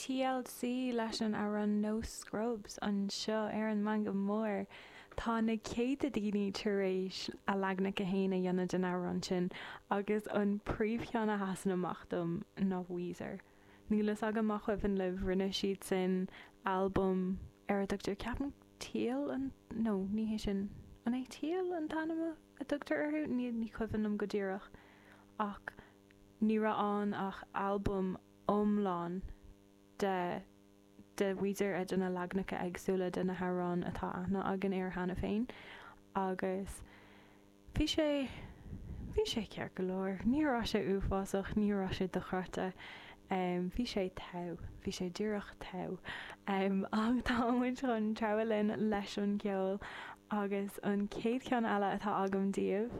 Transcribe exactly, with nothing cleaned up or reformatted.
TLC leis an amhrán No Scrubs anseo ar an Meangadh Mór. Tá na céadta daoine tar éis a leaganacha féin a dhéanamh den amhrán sin agus an príomhcheann a sheasann amach dom ná Weezer. Níl fhios agam má chuimhin libh rinne siad sin albam ar a dtugtar ceapaim Teal an nó ní hé sin an é Teal an t-ainm a dtugtar orthu ní ní cuimhin liom go díreach ach ní raibh ann ach albam iomlán de de Weezer a de na leaganacha éagsúla de na hamhráin atá aithne againn air cheana féin agus bhí sé bhí sé ceart go leor ní raibh sé uafásach ní raibh sé dochreidte um, bhí sé togha bhí sé díreach togha um, ach tá muid chun treabhadh linn leis an gceol agus an chéad cheann eile atá agam daoibh